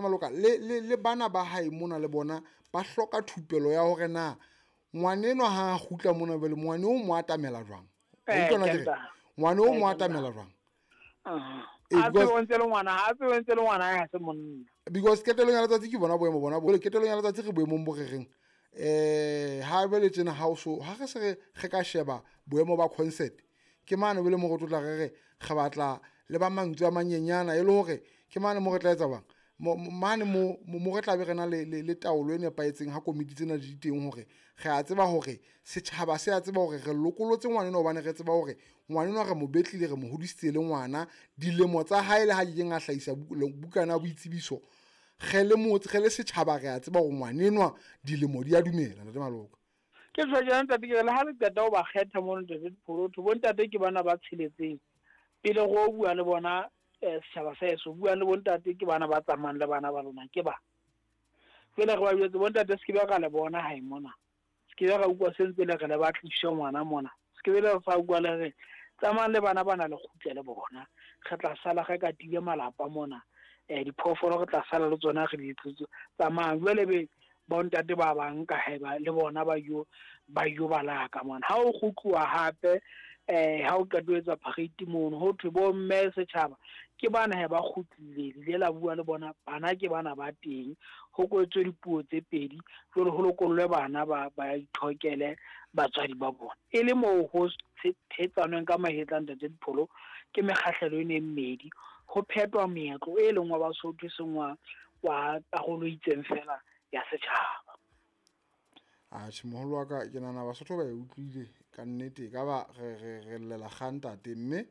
Maloka le bana ba hae mona le bona ba hloka thupelo ya hore na ngwanenwa ha a kgutla mona jwale ngwane o mo atamela jwang. Ngwane o mo atamela jwang. Because qetellong ya letsatsi ke bona boemo bona bo qetellong ya letsatsi re boemong bo re reng ha jwale tjena ha o so ha re se re ka sheba boemo ba concert ke mane bele mo re tlotla re re re batla le ba mantswe a manyenyana e le hore ke mane mo re tla etsa bang mane mo re tla be re na le taolo e nepahetseng ha komiti tsena di teng hore re a tseba hore setjhaba se a tseba hore re lokolotse ngwanenwa hobane re tseba hore ngwanenwa re mo betlile re mo hodisitse le ngwana dilemo tsa hae le ha kekeng a hlahisa bukana ya boitsebiso re le motse re le setjhaba re a tseba hore ngwanenwa dilemo di a dumela. Ntate Maloka ke tjho jana ntate ke le ha le qeta ho ba kgetha mono ntate Dipholotho bontate ke bana ba tsheletseng pele go bua le bona setjhaba sa heso bua le bontate ke bana ba tsamayang le bana ba lona ke ba jwale re ba jwetse bontate se ke be ra le bona hae mona se ke be ra utlwa se ntse le re le batlishe ngwana mona se ke be le sa utlwa le re tsamayang le bana bana le kgutle le bona re tla sala re katile malapa mona diphoofolo re tla sala le tsona re di tsamayang jwale be bontate ba bang ka haeba le bona ba yo balaka mona ha o kgutluwa hape ha o qeto etsa parade mono ho thwe bo mme setjhaba ke bana he ba kgutlile le la bua le bona bana ke bana ba teng ho kwetswe dipuo tse pedi jwale ho lokollwe bana ba ithokele batswadi ba bona e le moo ho thetsanweng ka mahetla ntate Dipholo ke mekgahlelo e ne mmedi ho phetwa meetlo e leng wa Basotho e seng wa karolo e itseng fela ya setjhaba. Atjhe moholo wa ka ke nahana Basotho ba e utlwile ka nnete ka ba re llela kgang ntate mme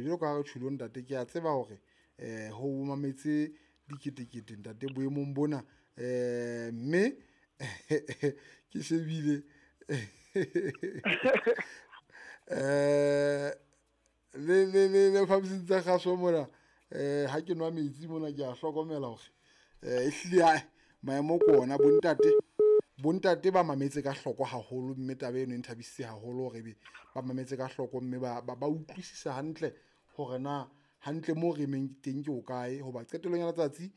jwalo ka ha re tjholo ntate ke a tseba hore ho mametse diketekete ntate boemong bona mme ke shebile le phaposing tsa kgaso mona ha ke nwa metsi mona ke a hlokomela hore ehlile maemo ke ona bontate ba mametse ka hloko haholo mme taba eno e nthabisitse haholo hore ebe ba mametse ka hloko mme ba utlwisisa hantle hore na hantle mo re emeng teng ke o kae hoba qetellong ya letsatsi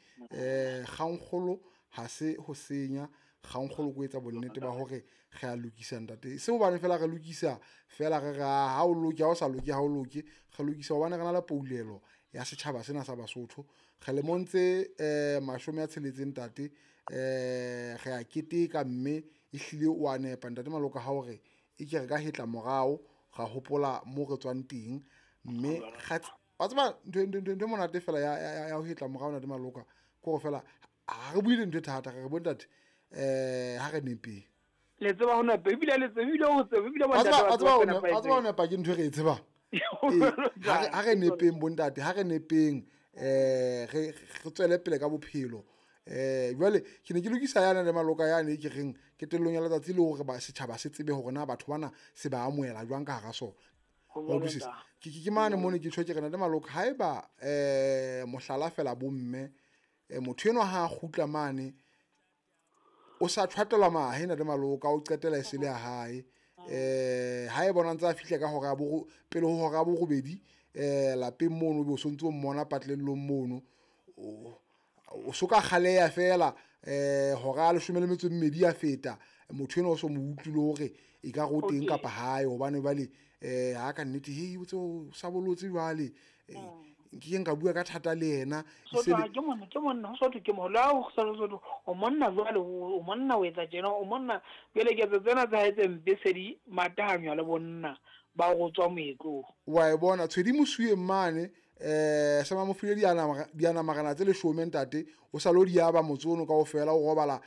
kgangkgolo ha se ho senya kgangkgolo ko etsa bonnete ba hore re a lokisa ntate se hobane fela re lokisa fela re ra ha o loke ha o sa loke ha o loke re lokisa hobane re na le poulelo ya setjhaba sena sa Basotho re lemong tse 60 ntate re a keteka mme ehlile o a nepa ntate Maloka ha hore e ke re ka hetla morao ra hopola mo re tswang teng mme wa tseba ntho monate fela ya ho hetla morao ntate Maloka ke hore fela ha re buile ntho e thata re bontate ha re nepeng le tseba ho nepa ebile le tsebile ho tseba ebile bontate wa tseba ho nepa ke ntho e re e tsebang ha re nepeng bontate ha re nepeng re tswele pele ka bophelo jwale ke ne ke lokisa yana le Maloka yane ke reng qetellong ya letsatsi le hore ba setjhaba se tsebe hore na batho bana se ba amohela jwang ka hara sona. Ke mane mone ke tjho ke rena le Maloka haeba mohlala fela bomme motho enwa ha a kgutla mane o sa tshwatelwa mahe na le Maloka o qetela e se le ya hae ha e bona ntse a fihla ka hora pele ho hora ya borobedi lapeng mono be o sontse o mmona patlellong mono o soka kgaleya fela hora ya 12 ya feta motho ena o so mo utlwile hore e ka re o teng kapa hae hobane jwale ha ka nnete hei o tse o sa bolotse jwale nke nka bua ka thata le yena ke monna ho ke mola o o monna jwale o monna o etsa tjena o monna jwale ketso tsena tsa hae tse mpe se di matahanywa le bonna ba go tswa moetlong wa e bona tshwedi mosuwe mane sa mamofile diana marana tse 10 ntate o sa lo di aba motse ono kaofela o robala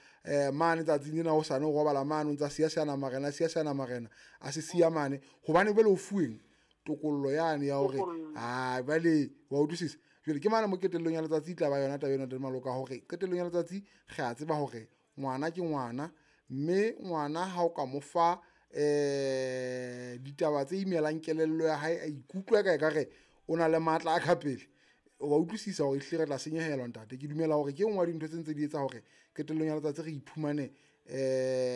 mane tsatsing lena o sane o robala mane o ntsa siya siana marena siya siana marena a se siya mane hobane bele o fuweng tokollo yane ya hore a bale wa utlwisisa jwale ke mane mo qetellong ya letsatsi tla ba yona taba ena teng Maloka hore qetellong ya letsatsi re a tseba hore ngwana ke ngwana mme ngwana ha o ka mo fa ditaba tse imelang kelello ya hae a ikutlwa ka ekare o na le matla a ka pele wa utlwisisa hore ehlile re tla senyehelwa ntate. Ke dumela hore ke nngwe ya dintho tse ntse di etsa hore qetellong ya letsatsi re iphumane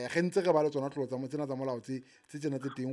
re ntse re ba le tsona tlolo tsa tsena tsa molao tse tsena tse teng.